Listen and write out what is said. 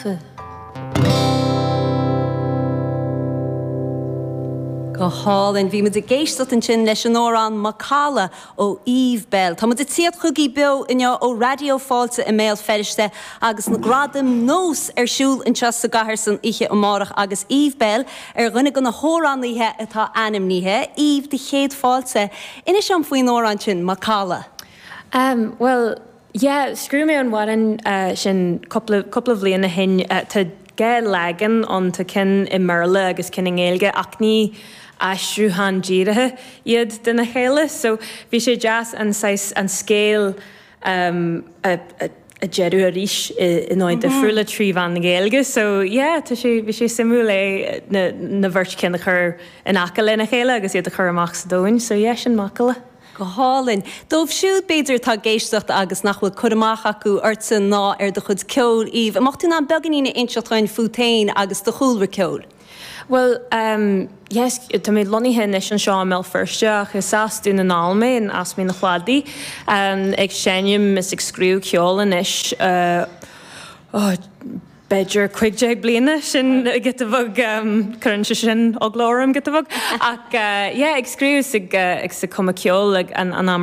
Gafa. Go hálainn. Bhí muid ag éisteacht ansin leis an amhrán Macalla ó Eve Belle. Tá muid ag tíocht chugaibh beo inniu ó Raidió Fáilte i mBéal Feirste agus na Gradaim Nós ar siúl anseo sa gcathair san oíche amárach agus Eve Belle ar dhuine de na hamhránaithe atá ainmnithe. Eve, do chéad fáilte. Inis dom faoin amhrán sin, Macalla. Bhuel, yeah, scríobh mé an amhrán sin cúpla, cúpla bhliain ó shin. Tá dhá leagan ann, tá ceann i mBéarla agus ceann i nGaeilge ach ní aistriúchán díreacha iad de na chéile. So bhí sé deas an saghas, an scéal a, a, a deireadh arís i ndóigh difriúla trí mheán na Gaeilge. So yeah, tá sé, bhí sé suimiúil é na, na bheirt cinn a chur in aice lena chéile agus iad a chur amach sa domhain. So yeah, sin Macalla. Go hálainn. Dóibh siúd, b'fhéidir, atá ag éisteacht agus nach bhfuil cur amach acu ortsa ná ar do chuid ceoil, Eve, an mbeadh tú in ann beagáinín a inseacht dhúinn fút féin agus do chúlra ceoil? Bhuel, ehm, yes, tá mé lonnaithe anois anseo i mBéal Feirste ach is as Dún na nGall mé, in Eas Mín an Chladaigh, ehm, ag seinm is ag scríobh ceoil anois, eh, oh, b'fhéidir 15 bliana, sin giota beag, cuireann sé sin eagla orm giota beag, ach yeah, ag scríobh is ag, agus ag cumadh ceoil ag an am.